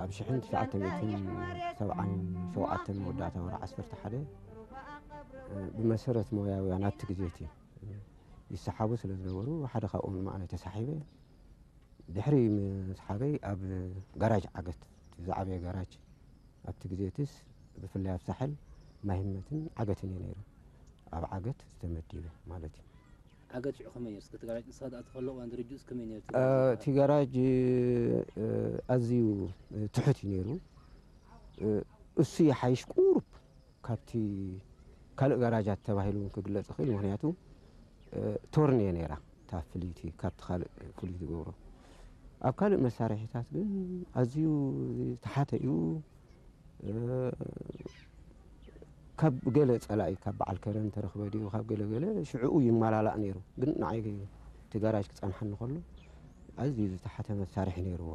ኣብ ሽሕን ትሽዓተ ሚእትን ሰብዓን ሸውዓተን መወዳእታ ወርሒ ዓሰርተ ሓደ ብመሰረት ሞያውያን ኣብቲ ግዜ እቲ ይሰሓቡ ስለ ዝነበሩ ሓደ ካብኦም ንዓይ ተሳሒበ። ድሕሪ ምስሓበይ ኣብ ጋራጅ ዓገት፣ እቲ ዝዓበየ ጋራጅ ኣብቲ ግዜ እቲስ ብፍላይ ኣብ ሳሕል ማሂመትን ዓገትን እዩ ነይሩ። ኣብ ዓገት ዝተመዲበ ማለት እዩ። ዓገት ሽዑ ከመይ ነይሩ? እስከ እቲ ጋራጅ ንስኻ ዝኣተኸሉ እዋን ድርጅት ከመይ ነይሩ? እቲ ጋራጅ ኣዝዩ ትሑት እዩ ነይሩ። እሱ ይሓይሽ ቁሩብ ካብቲ ካልእ ጋራጃት ተባሂሉ እውን ክግለጽ ይኽእል። ምኽንያቱ ቶርን እየ ነይራ እታ ፍልይቲ ካብቲ ካልእ ፍሉይ ዝገብሮ። ኣብ ካልእ መሳርሒታት ግን ኣዝዩ ዝተሓተ እዩ። ካብ ገለ ጸላኢ ካብ በዓል ከረን ተረኽበ ድዩ ካብ ገለ ገለ ሽዕኡ ይመላላእ ነይሩ። ግን ንዓይ እቲ ጋራጅ ክጸንሓኒ ከሎ ኣዝዩ ዝተሓተ መሳርሒ ነይርዎ።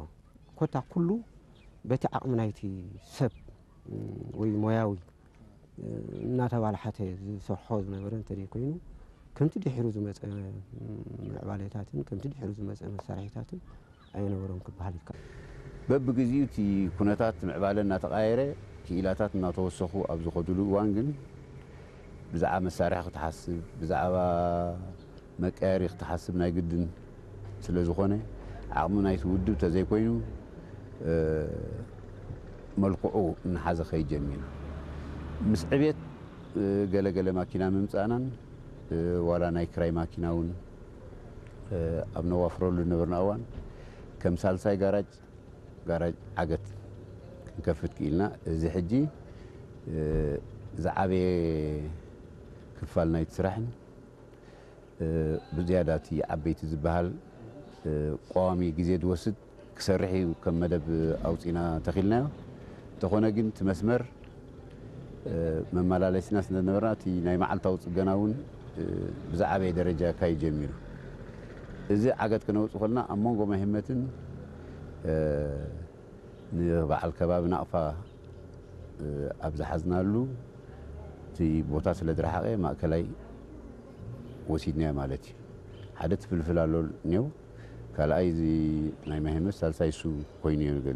ኮታ ኩሉ በቲ ዓቕሚ ናይቲ ሰብ ወይ ሞያዊ እናተባላሓተ ዝሰርሖ ዝነበረ እንተዘይኮይኑ ከምቲ ድሒሩ ዝመፀ ምዕባሌታትን ከምቲ ድሒሩ ዝመፀ መሳርሒታትን ኣይነበሮም ክበሃል ይከኣል። በብግዚኡ እቲ ኩነታት ምዕባለ እናተቓየረ ክኢላታት እናተወሰኹ ኣብ ዝኸዱሉ እዋን ግን ብዛዕባ መሳርሒ ክትሓስብ ብዛዕባ መቀየሪ ክትሓስብ ናይ ግድን ስለ ዝኾነ ዓቕሚ ናይቲ ውድብ ተዘይኮይኑ መልክዑ እናሓዘ ከይድ ጀሚሩ። ምስ ዕቤት ገለገለ ማኪና ምምፃእናን ዋላ ናይ ክራይ ማኪና እውን ኣብ ነዋፍረሉ ዝነበርና እዋን ከም ሳልሳይ ጋራጅ ጋራጅ ዓገት ክንከፍት ክኢልና። እዚ ሕጂ ዝዓበየ ክፋል ናይቲ ስራሕን ብዝያዳ እቲ ዓበይቲ ዝበሃል ቀዋሚ ግዜ ዝወስድ ክሰርሕ እዩ ከም መደብ ኣውፂና ተኺልናዮ። እንተኾነ ግን እቲ መስመር መመላለሲና ስለ ዝነበርና እቲ ናይ መዓልታዊ ፅገና እውን ብዝዓበየ ደረጃ ካይ ጀሚሩ። እዚ ዓገት ክነውፅ ከልና ኣብ መንጎ ማሂመትን ንበዓል ከባቢ ናቕፋ ኣብ ዝሓዝናሉ እቲ ቦታ ስለ ዝረሓቐ ማእከላይ ወሲድናዮ ማለት እዩ። ሓደ ትፍልፍል ኣሎ ኔው ካልኣይ እዚ ናይ ማሂመት ሳልሳይ እሱ ኮይኑ እዩ ንገል